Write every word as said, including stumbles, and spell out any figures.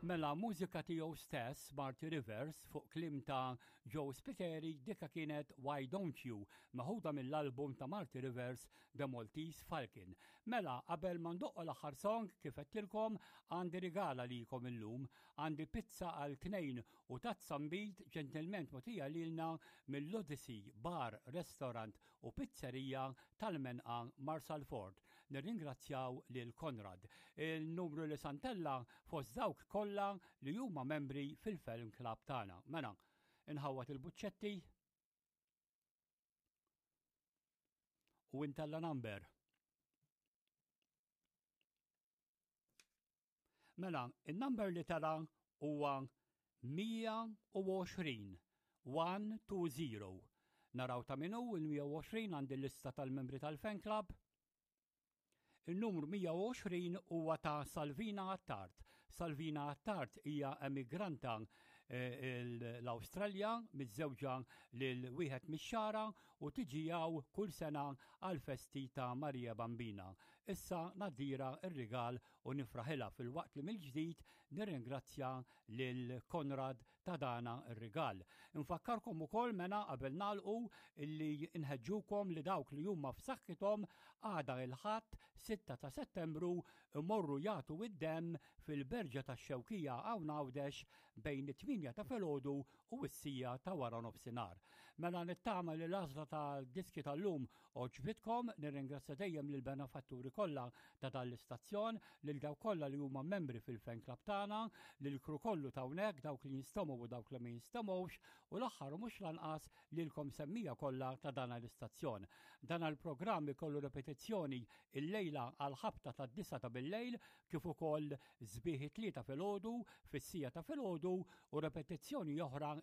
Mela mużika tiegħu stess, Marty Rivers, fuq kliem ta' Joe Spiteri, dika kienet Why Don't You, meħuda mill-album ta' Marty Rivers, The Maltese Falcon. Mela, qabel ma ndoqqu l-aħħar song, kif għedtilkom, għandi rigal għalikom illum, għandi pizza għal tnejn u tazza nbid ġentilment mogħtija lilna mill-Odyssey Bar, Restaurant u Pizzerija tal-Menqa Marsalforn. Nirringrazzjaw lil Konrad. Il-numru li se ntella' fost dawk kollha li huma membri fil-Fan Club tagħna. Mela, inħawwad il-buċċetti u intella number. Mela, il-number li tela' huwa mija u għoxrin, one two zero. Naraw ta' min hu il-mija u għoxrin għandi l-lista tal-membri tal-Fan Club. Il-numru mija u għoxrin huwa ta' Salvina Attard. Salvina Attard hija emigranta, eh, l-Awstralja, miżżewġa lil wieħed mix-Xagħra u tiġi hawn kull sena għal-festi ta' Marija Bambina. Issa nadira r-rigal u nifraħilha fil-waqt li mill-ġdid nirringrazzja lil Konrad ta' dana r-rigal. Infakkarkom ukoll mena qabel nagħlqu illi nħeġġukom li dawk li huma f'saħħithom għada il-Ħadd sitta ta' Settembru imorru jagħtu id-demm fil-Berġa tax-Xewkija hawn Għawdex bejn it-tmienja ta' filgħodu u s-sija ta' wara nofsinhar. Mela nittama li l-għażla tal-diski tal-lum għoġbitkom, nirringrazzja dejjem lil benefatturi kollha ta' dan l-istazzjon, lil dawk kollha li huma membri fil-fan club tagħna, lil kru kollu ta' hawnhekk, dawk li jinstemgħu u dawk li ma jinstemgħux, u l-aħħar u mhux lanqas lilkom semmija kollha ta' dan l-istazzjon. Dan il-programm ikollu repetizzjoni il-lejla għal ħabta tad-disa ta' bil-lejl, kif ukoll sbieħ it-tlieta filgħodu, fis-sija ta' filgħodu, u repetizzjoni oħra